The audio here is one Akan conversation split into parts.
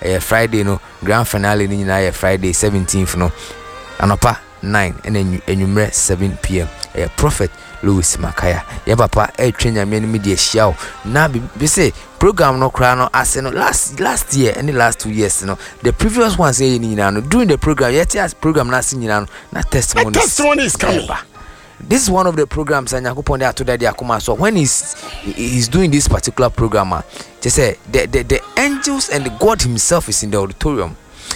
Ɛyɛ Friday no, grand finale no nyinaa yɛ Friday 17th no anɔpa 9 ɛna anwummerɛ 7 p.m. Ɛyɛ Prophet Louis Makaya, yɛn papa, ɛretwa Nyame anim de ahyia wo. Na bi sɛ program no koraa no ase no, last last year ɛne last 2 years no, the previous ones ɛyɛ ne nyinaa no, during the program, yɛte as program no ase nyinaa no na testimony testimony is coming. Ɛba. This is one of the programs a Nyankopɔn de ato dade akoma so. When he's doing this particular program a, kyɛ sɛ the angels and the God himself is in the auditorium.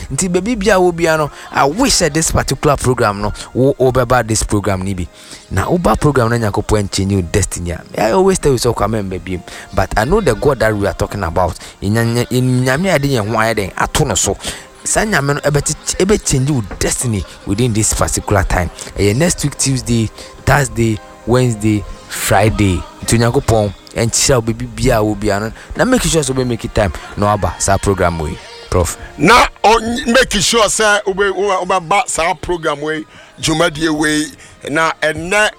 Nti baabi bia wɔ bia no, I wish sɛ this particular program no, wo wobɛba this program ni bi. Na woba program no, Nyankopɔn change your destiny a, I always tell you sɛ ɔkɔ amɛmba biem. But I know the God that we are talking about. Nyame a yɛde yɛn ho ayɛ den ato no so, saa Nyame no ɛbɛ ɛbɛ change your destiny within this particular time. Ɛyɛ next week Tuesday, Thursday, Wednesday, Friday. Nti Onyankopɔn ɛnkyerɛ wo baabi biara wɔ biara no, na make sure sɛ wobɛ make it time na waba saa program wei, Prof. Na make sure sɛ wobɛba saa program wei, dwumadie wei. Na ɛnɛ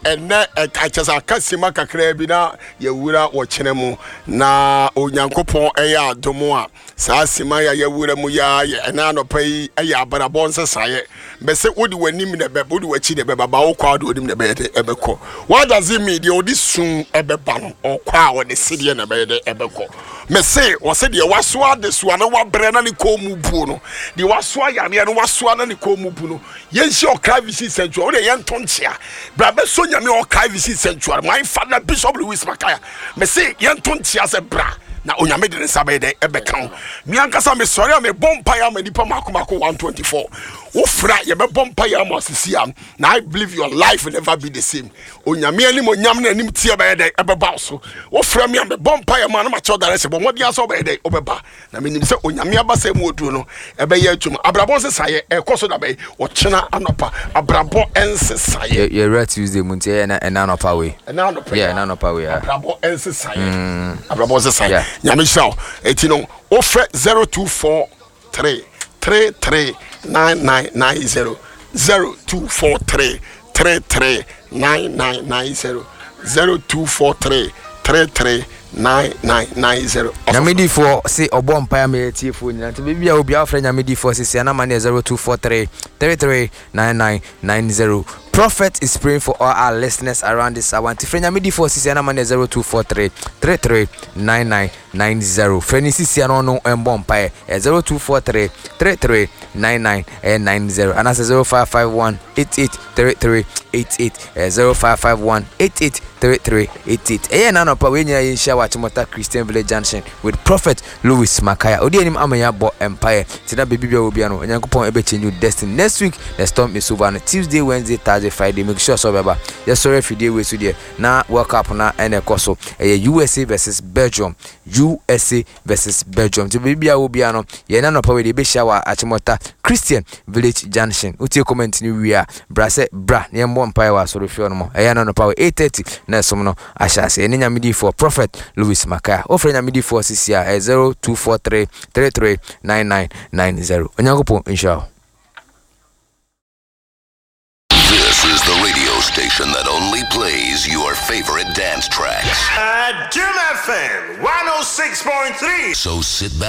ɛkyɛ sɛ aka sima kakraa bi na yɛwura wɔ kyerɛ mu. Na Onyankopɔn ɛyɛ adom a, saa sima yɛ yɛwura mu yɛ yɛ ɛnɛ anɔpa yi ɛyɛ abrabɔ nsesaeɛ. Bɛsɛ wode w'anim na ɛbɛba, wode w'akyi na ɛbɛba, ba wokɔ a, wode w'anim na ɛbɛyɛ de ɛbɛkɔ. What does it mean? Deɛ ɔde sum ɛbɛba no, ɔkɔ a, ɔde sedeɛ na ɛbɛyɛ de ɛbɛkɔ. Mese wɔsɛ deɛ wasoa adesoa na wabrɛ na ne kɔn mu buo no, deɛ wasoa yareɛ no, wasoa na ne kɔn mu bu no, yɛnhyia Ɔkae Vision Sanctuary. Wode yɛnto nkyea bra bɛsɔ Nyame Ɔkae Vision Sanctuary. My father, Bishop Louis Makaya, mese yɛnto nkyea sɛ bra na Onyame de ne nsa bɛyɛ dɛn ɛbɛka wo. Me ankasa mesɔre a, mebɔ mpaeɛ ama nipa maako maako 124. Wofrɛ a, yɛbɛbɔ mpaeɛ ama asisi a, na I believe your life will never be the same. Onyame anim onyam na anim tie bɛyɛ dɛn ɛbɛba wo so. Wofrɛ me a, mebɔ mpaeɛ ma na makyerɛ dare sɛ bɔ mmɔden asɛ wobɛyɛ dɛn wobɛba. Na menim sɛ Onyame aba sɛ mu oduro no ɛbɛyɛ adwuma. Abrabɔ nsesaeɛ ɛkɔ so da bɛyɛ ɔkyena anɔpa, abrabɔ nsesaeɛ. Yɛwura Tuesday mu, nti ɛyɛ ɛna anɔpa wei. Ɛna anɔpa. Yeah, ɛna anɔpa wei. Abrabɔ nsesaeɛ, abrabɔ nsesaeɛ. Nyame hyira wo. Eti no wofrɛ 0243 339990, 0243 339990, 0243 339990. Nyamedifoɔ se ɔbɔ mpaeɛ ama yɛtiefoɔ nyinaa. Nti baabi a obiara frɛ Nyamedifoɔ sisi anama ne 0243 339990. Prophet is praying for all our listeners around this hour. Nti frɛ Nyamedifoɔ sisi anama ne 0243 339990. Frɛ ne sisi ano no mbɔ mpaeɛ. 0243 339990 anaasɛ 0551 8833 88, 0551 8833 88. Ɛyɛ na anɔpa wei nyinaa yɛnhyia wɔ Achimota Christian Village Junction with Prophet Louis Makaya. Odi anim ama yɛabɔ mpaeɛ. Nti na baabi bia wɔ bia no, Onyankopɔn ɛbɛchange your destiny. Next week the storm is over no, Tuesday, Wednesday, Thursday, Friday, make sure sɛ ɔbɛba. Yɛsɔre afidie wei so deɛ, na World Cup na ɛna ɛkɔ so. Ɛyɛ USA versus Belgium, USA versus Belgium. Nti baabi bia wɔ bia no, yɛn anɔpa wei deɛ, yɛbɛhyia wɔ Achimota Christian Village Junction. Wotie comment no wie a, bra sɛ bra na yɛmmɔ mpaeɛ wɔ asɔre fie hɔ nom. Ɛyɛ no anɔpa wɔ 8:30 na ɛsom no ahyɛ ase. Ɛne Nyamedifoɔ Prophet Louis Makaya. Wofrɛ Nyamedifoɔ sisi a, ɛyɛ 0243 339990. Onyankopɔn nhyira wo. This is the radio station that only plays your favorite dance tracks. Jim FM 106.3. So sit back.